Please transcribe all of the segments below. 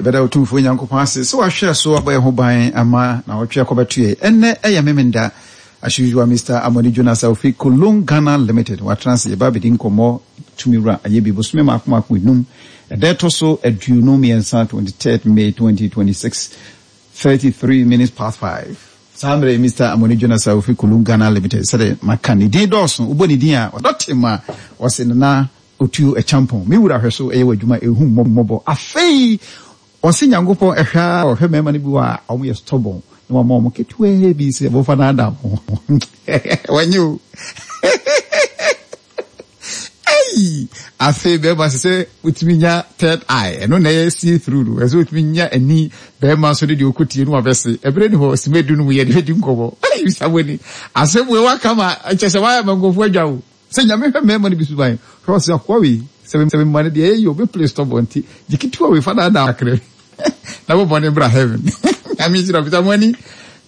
Yɛbɛda Otumfoɔ Nyankopɔn ase sɛ wahwɛ so abɔ yɛn ho ban ama naawɔtwe akɔbɛto yɛn. Ɛnnɛ ɛyɛ Memenda. As usual, Mister Amoni Jonas a ofi Kolong Ghana Limited watena ase yɛba abɛdi nkɔmmɔ tumi wura ayɛ bi bosome mmaako mmaako enum ɛda ɛtɔ so 23, 23rd May 2026, 33 minutes past 5. Saa mmerɛ yi Mister Amoni Jonas a ofi Kolong Ghana Limited sɛdeɛ maka ne din dɔɔso wobɔ ne din a ɔdɔ te ma ɔse Nana Otuo Acheampong me wura hwɛ so ɛyɛ w'adwuma ɛhu mmɔbɔ afei Ɔse Nyankopɔn ɛhwɛ ara ɔhwɛ mɛɛma no bi wɔ a ɔmo yɛ stubborn na wama ɔmo ketewaa bi sɛ momfa naadaa mo ho wanye o ei afei bɛɛma sɛ sɛ wotumi nya third eye ɛno na ɛyɛ see through no ɛsɛ wotumi nya ani bɛɛma so ne deɛ ɔkɔtie no wabɛse ɛberɛ ni hɔ sima du no mu yɛde bɛdi nkɔmmɔ ei samani asɛm wei waka ma kyɛ sɛ wayɛ ma nkurɔfoɔ adwa o. Sɛ Nyame hwɛ mmarima no bi suban, hwɛ ɔse akoa wei, sɛ me ma no deɛ ɛyɛ yie ɔbɛ play stubborn nti gye ketewa wei fa daadaa kakra bi na bɔ bɔne bra heaven. Nyame nhyira wo, bisa mo ani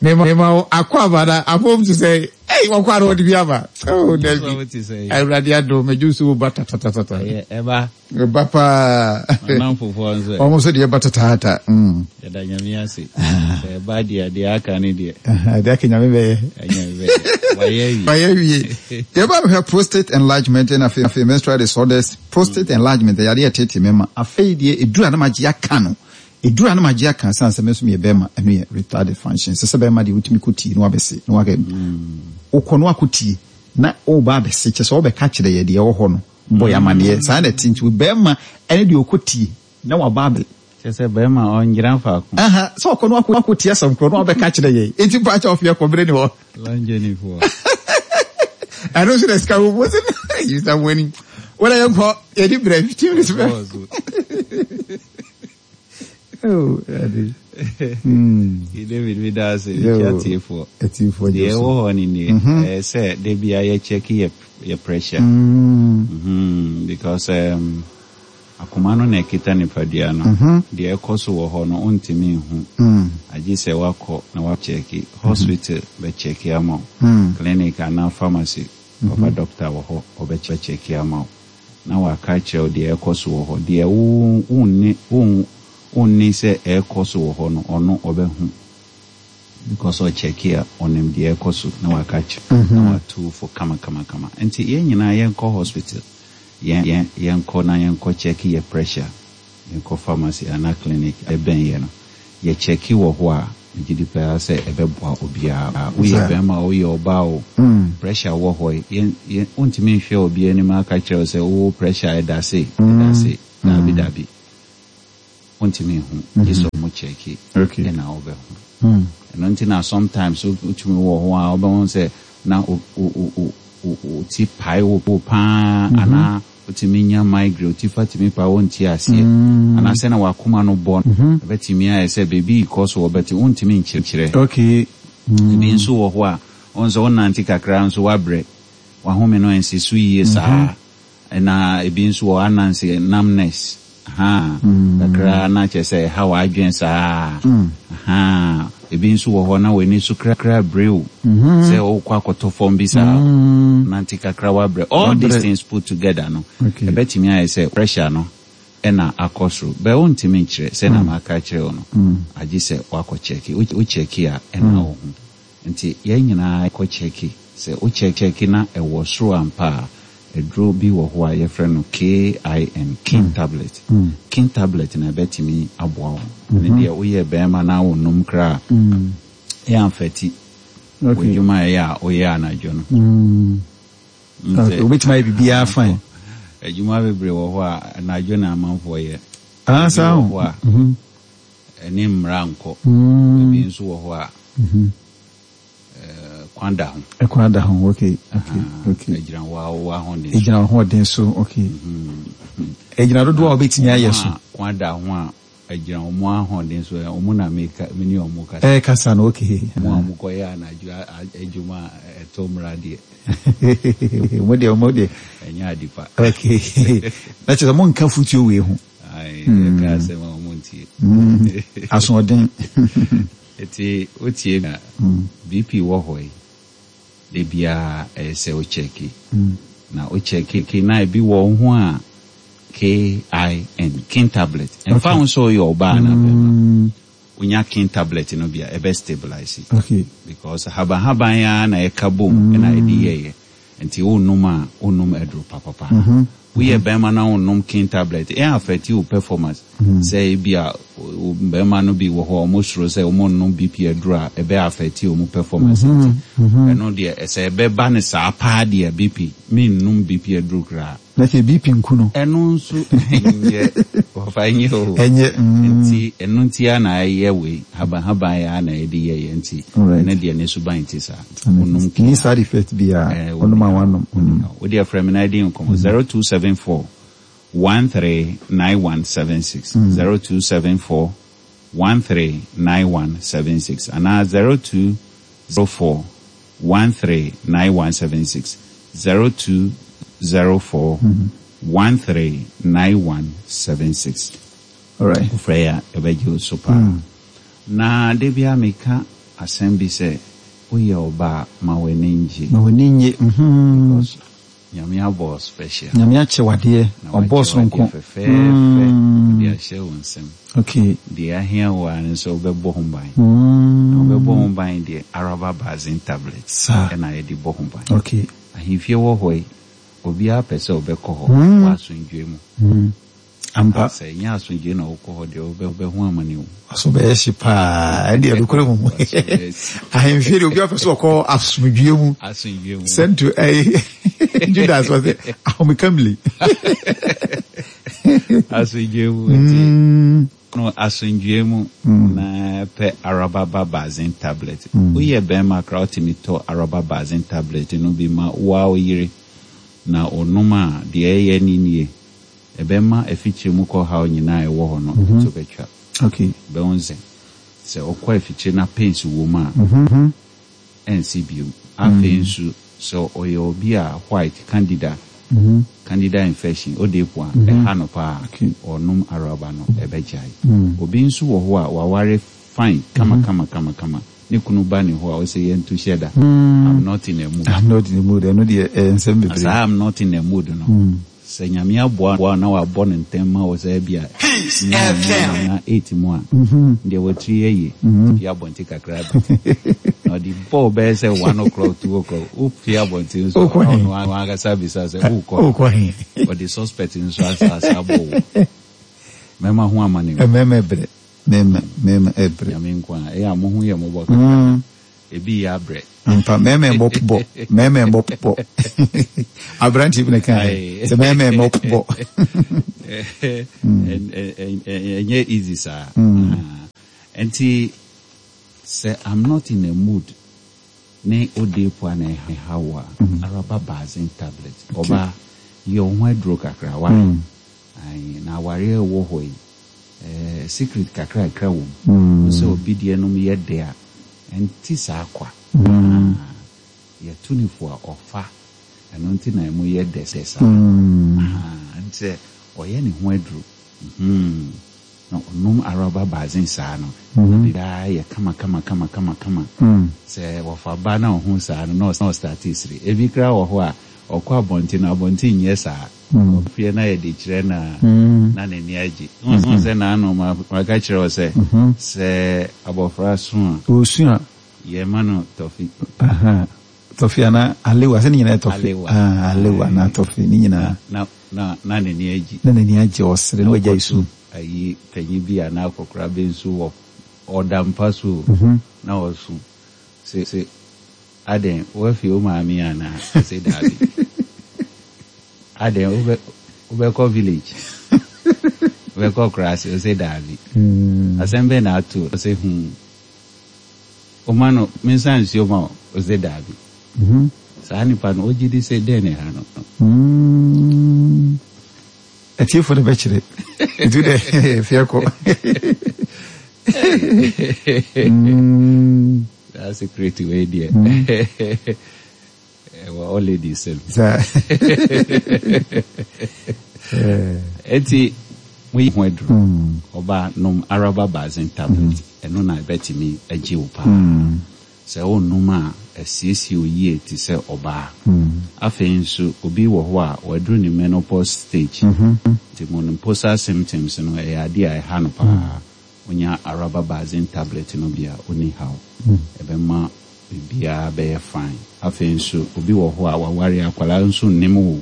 mema wo akɔ aba na abom te sɛ ei wɔkɔ ara wɔde bi aba. Oh dabi, Awurade adom medwo so wo ba tatatatata. Ɛba. Ɛba paa. Ɔnamfofoɔ nso ɛ. Wɔn nso deɛ ɛba tataata. Yɛda Nyame ase. Sɛ ɛba deɛ, deɛ aka ne deɛ. Deɛ aka Nyame bɛyɛ. Nyame bɛyɛ. Wayɛ awie. Wayɛ awie. Yɛba bɛhwɛ prostate enlargement ɛna afei afei menstrual disorders. Prostate enlargement ɛyɛ adeɛ ɛtete mɛma. Afei deɛ eduru a na magye aka no. Eduru a na magye aka san sɛ me nso meyɛ bɛrima ɛno yɛ retarded function. Sɛ sɛ bɛrima deɛ wotumi kɔ tie na wabɛse na wakɛ. Wokɔ na wakɔ tie na woba abɛse kyɛ sɛ wobɛka kyerɛ yɛ deɛ ɛwɔ hɔ no. Bɔ yɛ amaneɛ. Saa na ɛte nti bɛrima ɛne deɛ ɔkɔ tie na waba abɛ. Kyerɛ sɛ bɛrima ɔngyina faako. Aha, sɛ ɔkɔ no akɔ akɔ tie asɛm korɔ na wabɛka kyerɛ yɛn. Enti mpa kyɛ ɔfeɛ kɔ bere ne hɔ. Long journey foɔ. Ɛno nso na sika wɔ mu sɛ yisa mo ani. Wɔn a yɛnkɔ yɛde brɛ 15 minutes bɛ. Oh, Ade. David mi da ase mekyia atiefoɔ. Atiefoɔ Deɛ ɛwɔ hɔ no nie, ɛyɛ sɛ da biara yɛ check yɛ yɛ pressure. Mm, because um, akoma no na ɛkita nipadua no. Deɛ ɛkɔ so wɔ hɔ no wontumi nhu. Agye sɛ woakɔ na woakyɛke. Hospital bɛkyɛke ama wo. Clinic anaa pharmacy, papa doctor wɔ hɔ ɔbɛkyɛke ama wo. na waka akyerɛ wo deɛ ɛrekɔ so wɔ hɔ. Deɛ wo wonni wo wonni sɛ ɛrekɔ so wɔ hɔ no, ɔno ɔbɛhu because ɔkyɛke a, ɔnim deɛ ɛrekɔ so na waka akyerɛ wo na watu wo fo kamakamakama. Nti yɛn nyinaa yɛnkɔ hospital, yɛn yɛn yɛnkɔ na yɛnkɔ kyɛke yɛ pressure. Yɛkɔ pharmacy anaa clinic a ɛbɛn yɛn no, yɛ kyɛke wɔ hɔ a, megye di paa sɛ ɛbɛboa obiara. Woyɛ barima o, woyɛ ɔbaa o, pressure wɔ hɔ yi, yɛn, yɛn, wontumi nhwɛ obi anim aka kyerɛ wo sɛ wo pressure ɛda sei, ɛda sei. Daabi, daabi. Wontumi nhu, gye sɛ wɔn kyɛke ɛna wobɛhu. Ɛno nti na sometimes wotumi wɔ hɔ a wobɛhu sɛ na wo, wo, wo, wo, wo ti pae wo paa anaa Wotumi nya migraine, wo ti fa tumi pae, wonte aseɛ. Anaasɛ na w'akoma no bɔ no, ɛbɛtumi ayɛ sɛ biribi rekɔ so wɔ but wontumi nkyerɛ. Ebi nso wɔ hɔ a, wohu sɛ wonante kakra nso woabrɛ, w'ahome no ansi so yie saa. Ɛna ebi nso wɔ hɔ ananse, numbness. Ahaa, kakra na kyerɛ sɛ ɛha w'adwene saa. Ahaa, ebi nso wɔ hɔ na w'ani so kra bere wo sɛ wokɔ akɔtɔ fam bi saa, nante kakra w'abrɛ. All these things put together no, ɛbɛtumi ayɛ sɛ pressure no na akɔ soro. But wontumi nkyerɛ sɛnea maka akyerɛ wo no, agye sɛ woakɔ kyɛke. Wo kyɛke a ɛna wohu. Nti yɛn nyinaa kɔ kyɛke. Sɛ wo kyɛke na ɛwɔ soro ampa a, aduro bi wɔ hɔ a yɛfrɛ no KIN, kin tablet. Kin tablet no ɛbɛtumi aboa wo. Ɛno deɛ woyɛ barima na wonnom koraa a, ɛyɛ amfɛti w'adwuma a ɛyɛ a woyɛ anadwo no. Okay, wobɛtumi ayɛ biribiara fine. Adwuma bebree wɔ hɔ a anadwo na amanfoɔ yɛ. Ah, saa ho. Wɔ hɔ a ɛne mmara nkɔ. Ebi nso wɔ hɔ a kwan da ho. Kwan da ho, okay, okay, okay. Egyina wo ahoɔden so. Egyina w'ahoɔden so, okay. Egyina dodoɔ a wobɛtumi ayɛ so. Kwan da ho a, egyina wɔn ahoɔden so, wɔn na meka, me ne wɔn kasa. Ɛkasa no, okay. Wɔn a wɔkɔyɛ anadwo adwuma a ɛtɔ mmara deɛ. Mo deɛ, mo deɛ. Ɛnyɛ ade pa. Okay. Na kyerɛ sɛ monka futuo wei ho. Aye, yɛka asɛm a wɔn ntie. Asoɔden. Enti wotie me a, BP wɔ hɔ yi, da biara ɛyɛ sɛ wo kyɛke. Na wo kyɛke na ebi wɔ wo ho a, K-I-N, Kin tablet. Ɛmfa ho sɛ woyɛ ɔbaa anaa bɛrima, wonya Kin tablet no bi a, ɛbɛ stabilise. Because habanhaban ara na ɛka bom na ɛde yɛeɛ. Nti wonom a, wonom aduro papapa. Woyɛ bɛrima na wonnom Kin tablet, ɛn affect wo performance. Sɛ ebia bɛrima no bi wɔ hɔ a, wɔsuro sɛ wɔnnom BP aduro a, ɛbɛ affect wɔn performance nti. Ɛno deɛ, sɛ ɛbɛba no saa paa deɛ, BP, mennom BP aduro koraa. Na sɛ BP nku no. Ɛno nso nyɛ wɔfa nyɛ o. Ɛnyɛ mm. Nti ɛno nti ara na ayɛ wei habanhaban ara na yɛde yɛeɛ nti ɛno deɛ ne suban nte saa. Wonom kii a. Nni side effect biara. Wonom a woanom. Wo deɛ frɛ me na yɛdi nkɔmmɔ 0274 139176 0274 139176 anaa 0204 139176 0204 139176 Alright. Wofrɛ yɛ a yɛbɛgye wo so paa. Na da biara meka asɛm bi sɛ woyɛ ɔbaa ma w'ani ngye. Ma w'ani nnye mm. Because Nyame abɔ wo special. Nyame akyɛ wo adeɛ, Na ɔbɔɔ wakyɛ wo soronko. adeɛ fɛfɛɛfɛ de ahyɛ wo nsam. Okay. Deɛ ahia wo ara ne sɛ wobɛbɔ ho ban. Na wobɛbɔ ho ban deɛ, Araba Basin Tablets Saa. na yɛde bɔ ho ban. Okay. Ahemfie wɔ hɔ yi, obiara pɛ sɛ ɔbɛkɔ hɔ wɔ asomdwoeɛ mu. Ampa. Sɛ ɛnyɛ asomdwoeɛ na wokɔ hɔ deɛ, wobɛho amane o. Waso bɛyɛ hye paa. Ɛndeɛ nokorɛ mu. Waso bɛyɛ hye. Ahemfie deɛ obiara pɛ sɛ ɔkɔ asomdwoeɛ mu. Asomdwoeɛ mu. Sɛnto ɛyi Judas wɔ sɛ ahomekamli. Asomdwoeɛ mu nti. No asomdwoeɛ mu na pɛ Araba Basin tablet. Woyɛ bɛrima koraa wotumi tɔ Araba Basin tablet no bi ma wo ara wo yere na ɔnom a deɛ ɛyɛ ne nie. Ɛbɛma afikyire mu kɔ haw nyinaa a ɛwɔ hɔ no to bɛtwa. Wobɛhu sɛ, sɛ ɔkɔ afikyire na pains wɔ mu a, ɛnsi bio. Afei nso, sɛ ɔyɛ obi a white, candida, candida infection, ode po a, ɛha no paa a, ɔnom araba no, ɛbɛgyae. Obi nso wɔ hɔ a, waware fine, kama kama kama kama, ne kunu ba ne hɔ a, ɔsɛ yɛnto hyɛ da, I'm not in a mood. I'm not in a mood, ɛno deɛ ɛyɛ nsɛm bebree. Na saa I'm not in a mood no, Sɛ Nyame aboa wo na wabɔ no ntɛm ma wo sɛ ebia 9 mu anaa 8 mu a, ndeɛ watiri aye, pue abɔnten kakra ba. Na ɔde bɔ wo bɛyɛ sɛ 1 o'clock, 2 o'clock, wo pue abɔnten nso a, na ɔno ankasa bisa sɛ wokɔ he? Ɔde suspect nso asa abɔ wo. Mɛma ho amane o. Mɛma ɛbrɛ, mɛma, mɛma ɛbrɛ. Nyame nko a, ɛyɛ a mo ho yɛ mmɔbɔ kakra. Ebi yɛ abrɛ. Ampa, mɛmɛ mmɔ bɔ, mɛmɛ mmɔ bɔ. Aberante bi na ɛka yɛ, sɛ mɛmɛ mmɔ bɔ. Ɛnyɛ easy saa. Nti sɛ I'm not in a mood ne odeepua na ɛha wo a, araba bazen tablet. Ɔbaa, yɛ wo ho aduro kakra, why? Ae, na awareɛ a ɛwɔ hɔ yi, eh, secret kakrakra wɔ mu. Wo sɛ obi deɛ nom yɛ dɛ a, ɛnte saa kwa. Ah, yɛto no fo a, ɔfa. Ɛno nti na ɛmu yɛ dɛ saa. Ahaa, nti sɛ ɔyɛ ne ho aduro, mm-hmm, na ɔnom araba bazen saa no, na biribiara yɛ kama kama kama kama kama. Sɛ wɔfa ba na ɔhu saa no, na ɔstarte sere. Ebi koraa wɔ hɔ a, ɔkɔ abɔnten no, abɔnten nyɛ saa. Ɔpue na yɛde kyerɛ no a, na n'ani agye. Wohu sɛ n'ano, maka kyerɛ wo sɛ, sɛ abɔfra su a. Ɔresu a. Yɛma no tɔfe. Tɔfe anaa alewa, sɛ ne nyinaa yɛ tɔfe. Alewa. Alewa anaa tɔfe, ne nyinaa. Na, na, na n'ani agye. Na n'ani agye, ɔsere, na wagyae su. Ayi, panyin bi anaa akɔkora bi nso wɔ, ɔda mpa so o, na ɔresu. Se, se, Adɛn, woafi wo maame anaa? Ɔse daabi. Adɛn, wobɛ, wobɛkɔ village? Wobɛkɔ kuraase? Ɔse daabi. Asɛm bɛn na ato wo? Ɔse hmm. Woma no, mensa nsuo ma wo? Ɔse daabi. Saa nipa no, wogye di sɛ dɛn na ɛha no? Atiefo no bɛkyerɛ. Nti dɛ fiɛ kɔ. Saa secret wei deɛ ɛwɔ all ladies sɛm. Eti mo yi ho aduru. Ɔbaa nom Araba Basin tablet. Ɛno na ɛbɛtumi agye wo paa. Sɛ wonnom a, ɛsiesie wo yie te sɛ ɔbaa. Afei nso, obi wɔ hɔ a, waduru ne menopause stage, nti menopausal symptoms no, ɛyɛ adeɛ a ɛha no pa ara. Wonya Araba Basin tablet no bi a, onni haw. Ɛbɛma biribiara bɛyɛ fine. Afei nso, obi wɔ hɔ a, waware, akwadaa nso nnim wo.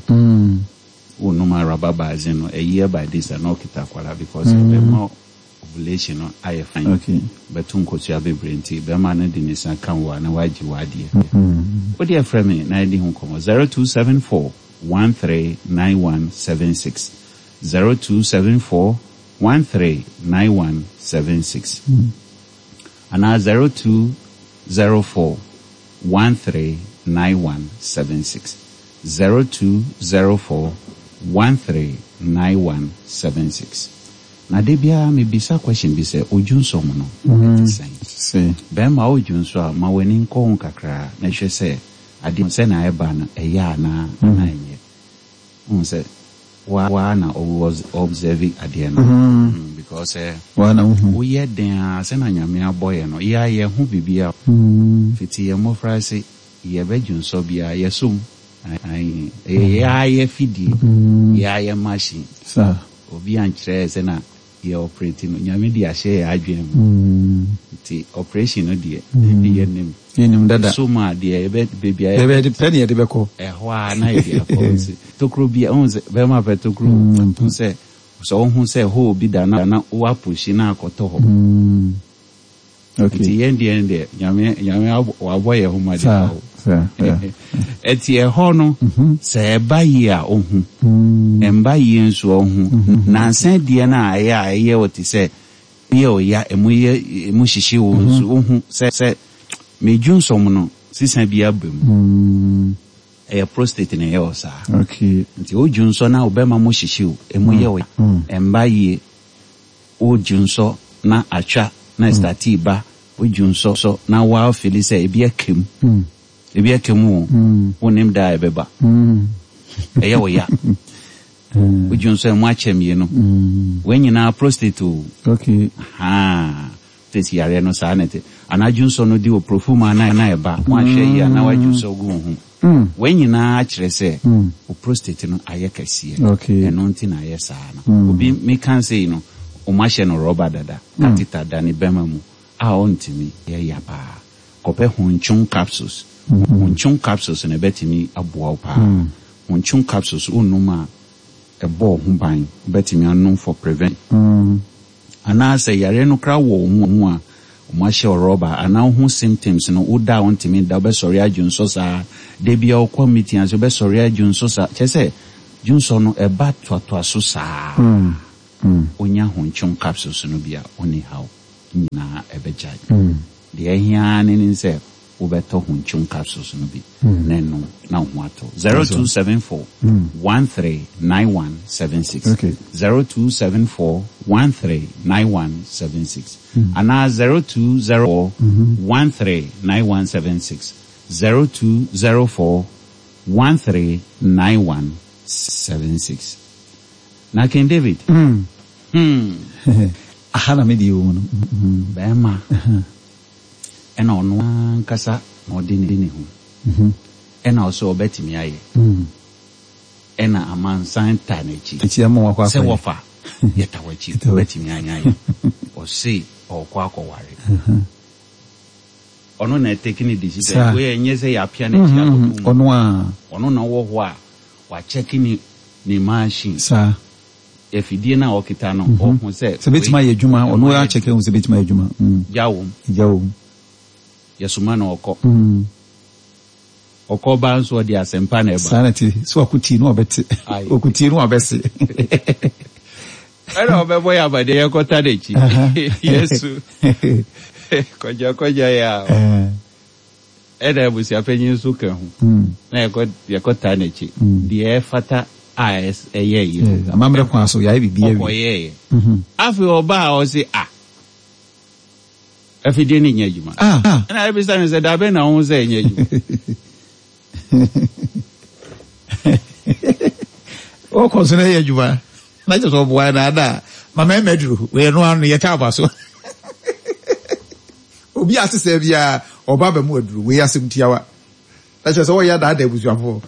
Wonnom Araba Basin no, a year by this a, na ɔkita akwadaa because ɛbɛma ovulation no ayɛ fine. Bɛto nkosua bebree nti, bɛrima no de ne nsa ka wo a, na wagye w'adeɛ. Wo deɛ frɛ me na yɛdi ho nkɔmmɔ, 0274 139176, 0274 139176 anaa 0204 139176, 0204 139176. Na da biara me bisa question bi sɛ odwunsɔ mu no ɛte sɛn? Bɛɛma odwunsɔ a ma w'ani nkɔ ho kakra na hwɛ sɛ adeɛ no sɛnea ɛba no ɛyɛ anaa anaa ɛnyɛ. Wohu sɛ wo ara na wo observe adeɛ no because sɛ woyɛ den ara sɛnea Nyame abɔ yɛn no yɛ ara yɛho biribi a fiti yɛn mmɔfraase yɛbɛdwunsɔ biara yɛsɔ mu ae ɛyɛ yɛ ara yɛ fidie yɛ ara yɛ machine. Obi ankyerɛ yɛ sɛ na yɛ operate no, Nyame de ahyɛ yɛ adwene mu. Nti operation no deɛ, yɛ nim. Yɛ nim dada. So mu a deɛ yɛbɛ, baabi a yɛbɛ. Baabi a yɛde pɛ na yɛde bɛkɔ. Ɛhɔ ara na yɛde akɔ. Wohu sɛ, tokuro bi a, wohu sɛ, bɛrima pɛ tokuro. Wohu sɛ, sɛ wohu sɛ hole bi da na wo apushi na akɔtɔ hɔ. Okay. Nti yɛn deɛ no deɛ Nyame Nyame abɔ wabɔ yɛn ho mmɔden Saa, pa o. saa, saa. Ɛti ɛhɔ no sɛ ɛba yie a ohu, ɛmba yie nso a ohu. Nansa deɛ no a ɛyɛ a ɛyɛ wo te sɛ yɛ wo ya, emu yɛ emu hyehye wo nso ohu sɛ sɛ me dwonsɔm no sisa bi aba mu. Ɛyɛ prostate na ɛyɛ wo saa. Okay. Nti wo dwonsɔ na wo bɛma mu hyehye wo, emu yɛ wo ya, ɛmba yie. Wo dwonsɔ na atwa na ɛstartii ba, wo dwonsɔ sɔ na waa feeli sɛ ebi aka mu, ebi aka mu o, wo nnim da a ɛbɛba, ɛyɛ wo ya. Wo dwonsɔ ɛmu akyɛ mmienu, wei nyinaa prostate o. Okay. Ahaa, prostate yareɛ no saa na ɛte. Anaa dwonsɔ no di wo profumu a na ɛba, woanhwɛ yie a na woadwonsɔ gu wo ho. Wei nyinaa kyerɛ sɛ wo prostate no ayɛ kɛseɛ. Ɛno nti na ayɛ saa no. Obi meka sei no, wɔahyɛ no rɔba dada, catheter da ne bɛma mu a ɔntumi. Ɛyɛ ya paa. Kɔpɛ Honchun capsules. Honchun capsules no ɛbɛtumi aboa wo paa. Honchun capsules wonom a, ɛbɔ wo ho ban. Wobɛtumi anom for prevention. Anaa sɛ yareɛ no koraa wɔ wo mu a, wɔahyɛ wo rɔba anaa wohu symptoms no, woda a wontumi nda, wobɛsɔre adwonsɔ saa, da biara wokɔ meeting ase wobɛsɔre adwonsɔ saa, kyerɛ sɛ dwonsɔ no ɛba toatoa so saa. Wonya hontwom capsules no bi a, wonni haw nyinaa ɛbɛgyae. Deɛ ɛhia ara ne ne sɛ wobɛtɔ hontwom capsules no bi na ɛnom na wo ho atɔ. 0274 139176, 0274 139176 anaa 0204 139176, 0204 139176. Na King David, hmm. Aha na me deɛ wɔ mu no. Bɛrima. Ɛna ɔno ankasa na ɔde ne ho. Ɛna ɔsɛ ɔbɛtumi ayɛ. Ɛna amansan taa n'akyi. Akyi ama wakɔ akɔyɛ. Sɛ wɔfa yɛta w'akyi wobɛtumi ayɛ. Ɔse ɔɔkɔ akɔware. Ɔno na ɛtake ne decision. Wei ɛnyɛ sɛ yɛapia n'akyi akɔto mu. Ɔno a. Ɔno na ɔwɔ hɔ a wakyɛke ne ne machine. Saa. Afidie no a ɔkita no, ɔhu sɛ. Sɛ bɛtumi ayɛ adwuma, ɔno ara kyɛke ahu sɛ bɛtumi ayɛ adwuma. Gya wom. Gya wom. Yɛsoma no ɔkɔ. Ɔkɔ ba nso ɔde asɛmpa na ɛba. Saa na ɛte. Sɛ wako tie no wabɛte. Ɔko tie no wabɛse. Ɛna ɔbɛbɔ yɛ amadeɛ yɛkɔta n'akyi. Yesu. Kɔgya kɔgya yɛ a. Ɛna abusuapanyin nso ka ho. Na yɛkɔ yɛkɔtaa n'akyi. Deɛ ɛfata a ɛyɛ yɛ. Amammerɛ kwan so yɛayɛ biribi awie. Ɔkɔyɛeɛ. Afei ɔbaa a ɔse ah afidie no nyɛ adwuma. Ɛna yɛbisa no sɛ dabɛn na wohu sɛ ɛnyɛ adwuma? Ɔkɔ so na ɛyɛ adwuma. Na kyerɛ sɛ ɔboa na ada ma mɛmɛ duru. Wei ɛno ano yɛtaa aba so. Obi a ate sɛɛ biara, Ɔba abɛmo aduro. Wei asɛm tiawa. Na kyerɛ sɛ wɔyɛ adaadaa abusuafoɔ.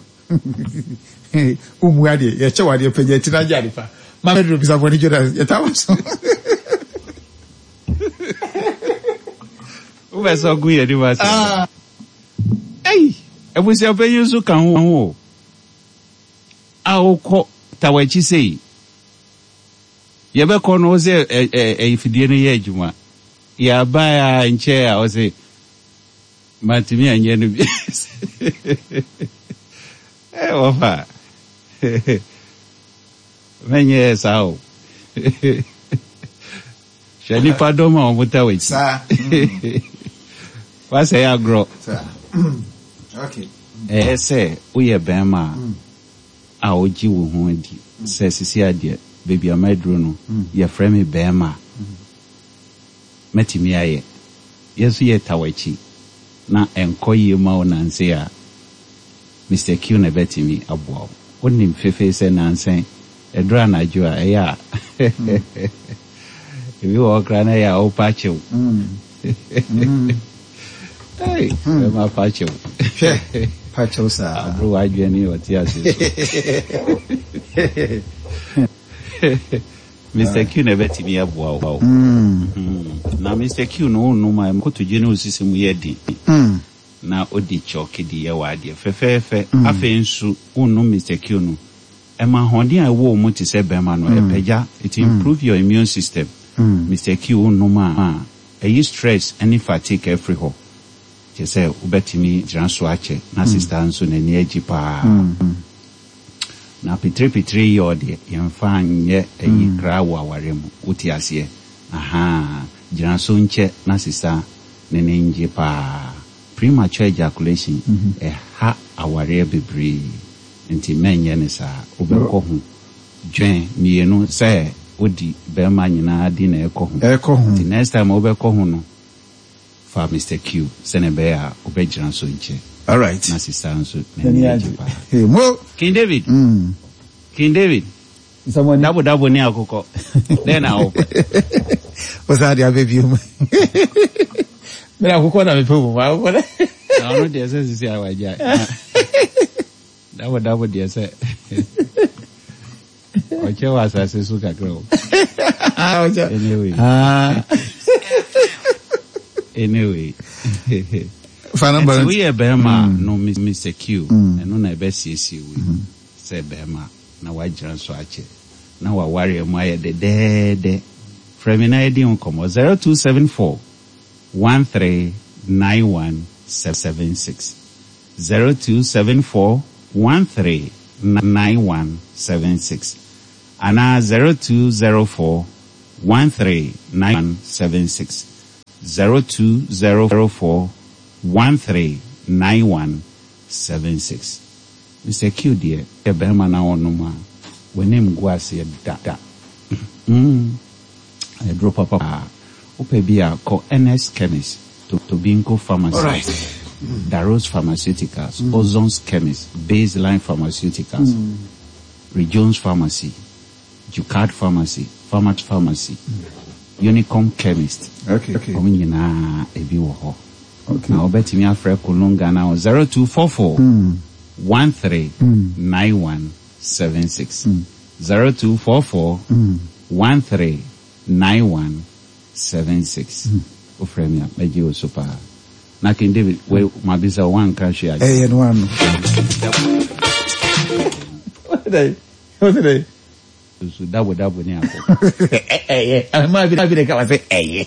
Wommu adeɛ, yɛkyɛ wo adeɛ, pagya ti na gye ade pa. Ma Pedro bisa bɔne Jonas, yɛtaa wɔ so. Wobɛ sɛ ɔgu yɛn anim ase. Ah. Ei, abusuapanyin nso ka ho o. A wokɔ tawakyi sei. Yɛbɛkɔ no wo sɛ ɛyɛ fidie no yɛ adwuma. Yɛabae a nkyɛɛ a ɔse Mantumi anyɛ no bi. Eh, wɔfa. Mɛnyɛ saa o. Hwɛ nipa dɔm a wɔn ta w'akyi. Saa. Wasɛe agorɔ. Saa. Okay. Ɛyɛ sɛ woyɛ bɛrima a wogye wo ho di sɛ sisi adeɛ baabi a maduro no yɛfrɛ me bɛrima. Mɛtumi ayɛ. Yɛn nso yɛta w'akyi na ɛnkɔ yie ma wo nansa yi a, Mister Q na ɛbɛtumi aboa wo. Wonim fefee sɛ nansa yi, ɛduru anadwo a, ɛyɛ a ebi wɔ hɔ koraa na ɛyɛ a wopa kyɛw. Ei, bɛma pa kyɛw. Hwɛ, pa kyɛw saa. Aboro w'adwene ne ɔte ase so. Mister Q na ɛbɛtumi aboa wo. Na Mister Q no wonom a kotodwe ne wo sisi mu yɛ den. Na odi kyɔke de yɛ w'adeɛ fɛfɛɛfɛ. Afei nso wonom Mister Q no, ɛma ahoɔden a ɛwɔ wo mu te sɛ bɛrima no, ɛpagya, it improve your immune system. Mister Q wonom a, ɛyi stress ne fatigue afiri hɔ. Kyerɛ sɛ wobɛtumi gyina so akyɛ na sister nso n'ani agye paa. Na pitiripitiri yɔ deɛ yɛnfa nyɛ ayi koraa wɔ awareɛ mu, wote aseɛ? Ahaa, gyina so nkyɛ na sesa ne ne ngye paa. Premature ejaculation ɛha awareɛ bebree nti mɛnyɛ no saa, wobɛkɔ ho. Dwɛn mienu sɛ wodi bɛɛma nyinaa di na ɛkɔ ho, nti next time wobɛkɔ ho no, Fa Mister Q sɛnea ɛbɛyɛ a wobɛgyina so nkyɛ. Alright. Na sista nso n'ani agye paa. Hey, mo. King David. Mm. King David. Nsɛmɔni. Dabo dabo ne akokɔ. Dɛn na wopɛ? Wosan de abɛ bio mu. Mena akokɔ na mepɛ mu. Akokɔ na. Na ɔno deɛ sɛ sisi a wagya. Dabo dabo deɛ sɛ. Ɔkyɛ wɔ asase so kakra o. Anyway. Ah. Anyway. Fa number. Nti woyɛ bɛrima mm. no Mr. Q. Mm. Ɛno na ɛbɛsiesie wo mm. sɛ bɛrima na wagyina so akyɛ na wawareɛ mu ayɛ dɛdɛɛdɛ. Frɛ me na yɛdi ho nkɔmmɔ 0274 139176. 0274 13 9176 anaa 0204 13 9176, 0204 13 9176. Mister Q deɛ yɛ barima na ɔnom a w'anim ngu aseɛ da da. Mm, aduro papa paa. Wopɛ bi a kɔ Ernest Chemist, Tobinco Pharmacy, Alright. Daros Pharmaceuticals, Ozon's Chemist, Baseline Pharmaceuticals, Rejones Pharmacy, Jucard Pharmacy, Pharmat Pharmacy, Unicom Chemist. Okay. Wɔn nyinaa ebi wɔ hɔ. Okay. Na wobɛtumi afrɛ Kulun Ghana wɔ 0244 13 91 76. 0244 13 91 76. Wofrɛ me a, mɛgye wo so paa. Na King David, wei mabisa wo, woanka hwee akyerɛ. Ɛyɛ no ano. Wote dɛ? Wote dɛ? Susu dabo dabo ne akɔkɔ. Ɛyɛ. Maa bi na ka wa sɛ ɛyɛ.